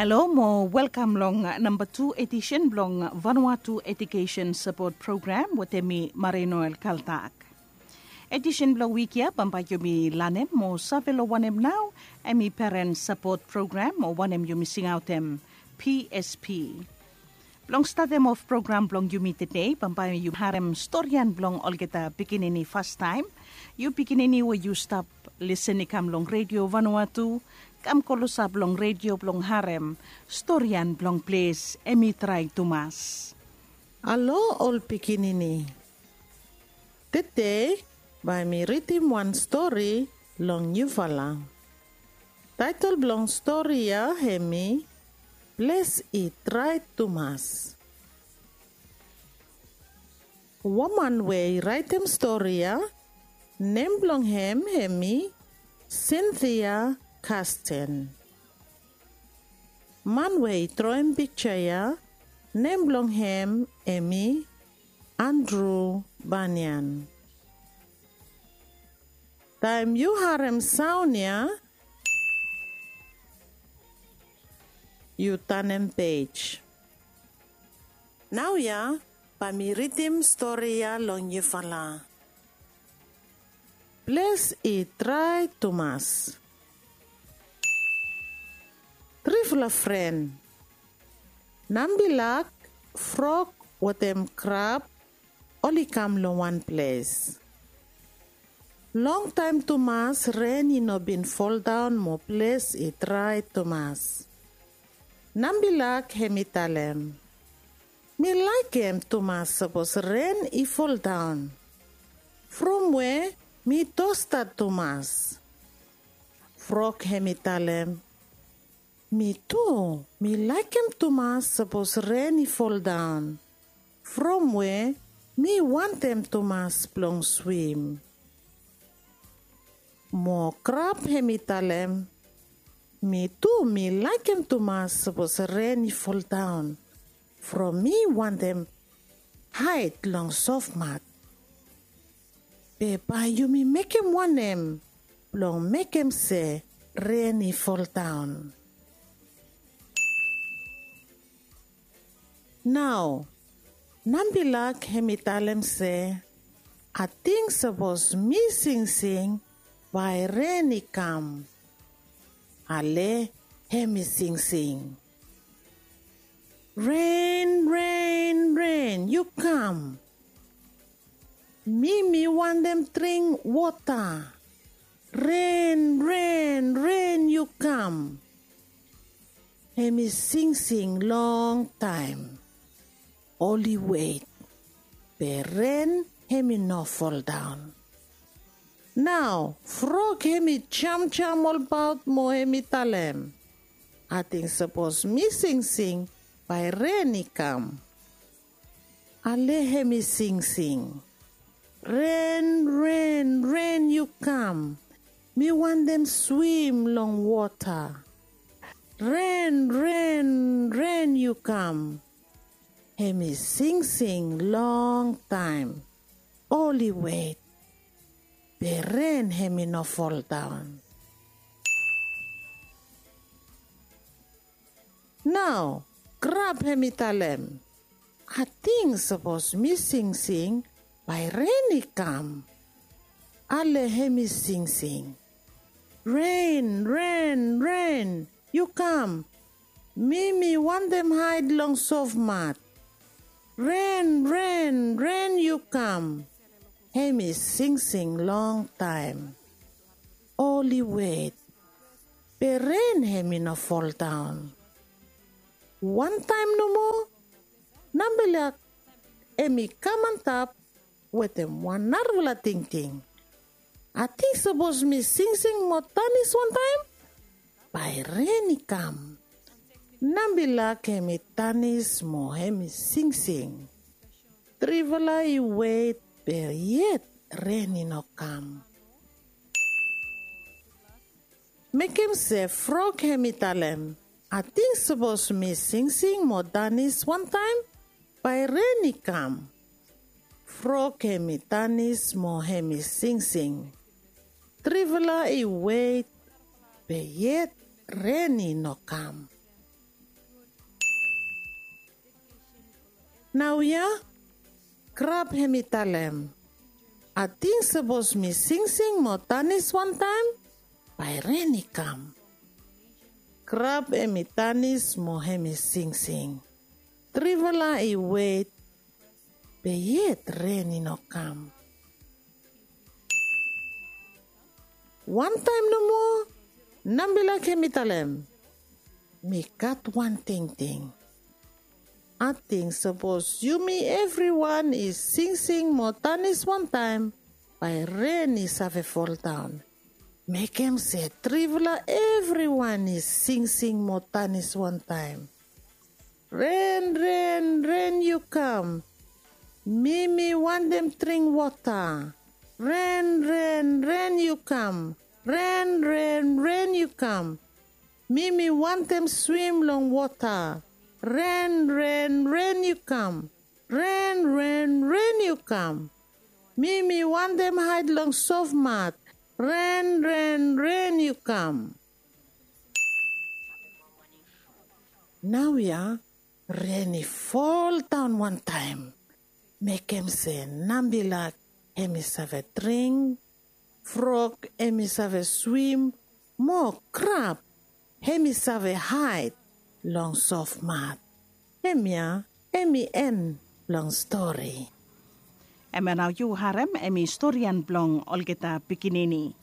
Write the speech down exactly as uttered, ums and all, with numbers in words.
Halo mo welkam long namba tu edisen blong Vanuatu Education Support Program wetem mi, Marinoel Kaltak. Edisen blong wik ya bambae yumi lanem mo save long wanem nao hemi Parent Support Program o wanem yumi singaotem P S P. Blong statem of program blong yumi tede, bambae yu harem storian blong olgeta pikinini fastaem. Yu pikinini we yu stap lisen i kam long Redio Vanuatu, kam klosap long redio blong harem storian blong ples hemi trae tumas. Halo ol pikinini. Tede bae mi ridim wan stori long yufala. Taetol blong stori ya hemi Ples i Trae Tumas. Woman we i raetem stori ya, nem blong hem hemi Cynthia Kasten. Man we i droem piksa ya, nem blong hem hemi Andrew Banian. Taem yu harem saon ya, yu tanem pej. Naoia bae mi ridim stori ya long yufala. Ples i Trae Tumas. Trifala fren, nambilak, frog wetem krab, oli kam long wan ples. Longtaem tumas ren i no bin foldaon mo ples i drae tumas. Nambilak hemi talem, mi laekem tumas sapos ren i foldaon, from we mi tosta tumas. Frog hemi talem, mi tu mi laekem tumas sapos ren i foldaon, from we mi wantem tumas blong swim. Mo krab hemi talem, mi tu mi laekem tumas sapos ren i foldaon, from mi wantem haed long sofmat. Be bae yumi mekem wanem blong mekem se ren i foldaon? Nao nambilak hemi talem se, ating sapos mi singsing bae ren i kam. Ale hemi singsing, ren, ren, ren, yu kam. Mi mi wantem dring wota. Ren, ren, ren, yu kam. Hemi singsing longtaem. Oli wet, be ren hemi no foldaon. Nao frog hemi jamjam olbaot mo hemi talem, ating sapos mi singsing bae ren i kam. Ale hemi singsing, ren, ren, ren, yu kam. Mi wantem swim long wota. Ren, ren, ren, yu kam. Hemi singsing longtaem. Oli wet, be ren hemi no foldaon. Nao krab hemi talem, ating sapos mi singsing bae ren i kam. Ale hemi singsing, ren, ren, ren, yu kam. Mi mi wantem haed long sofmat. Ren, ren, ren, yu kam. Hemi singsing longtaem. Oli wet, be ren hemi no foldaon. Wantaem nomo nambilak hemi kam antap wetem wan narafala tingting. Ating sapos mi singsing mo danis wantaem bae ren i kam. Nambilak hemi danis mo hemi singsing. Trifala i wet, be yet ren i no kam. Mekem se frog hemi talem, ating sapos mi singsing mo danis wantaem bae ren i kam. Frog hemi danis mo hemi singsing. Trifala i wet, be yet ren i no kam. Naoia, krab hem i talem, ating sapos mi singsing mo tanis wantaem, bae ren i kam. Krab hem i tanis mo hem i singsing. Trifala i wet, be yet ren i no kam. Wantaem nomo, nambila hem i talem, mi gat wan tingting. Ating sapos yumi evriwan i singsing mo tanis wantaem, bae ren i save foldaon. Mekem se trifala evriwan i singsing mo tanis wantaem. Ren, ren, ren yu kam. Mi mi wantem dring wota. Ren, ren, ren yu kam. Ren, ren, ren yu kam. Mi mi wantem swim long wota. Ren, ren, ren yu kam. Ren, ren, ren yu kam. Mi mi wantem haed long sof mat. Ren, ren, ren yu kam. Naoia ren i foldaon wantaem. Mekem se nambila hem i save dring, frog hem i save swim, mo krab hem i save haed long sof mat. Hemia hem i en blong stori. Hemia nao yu harem hem i storian blong olgeta pikinini.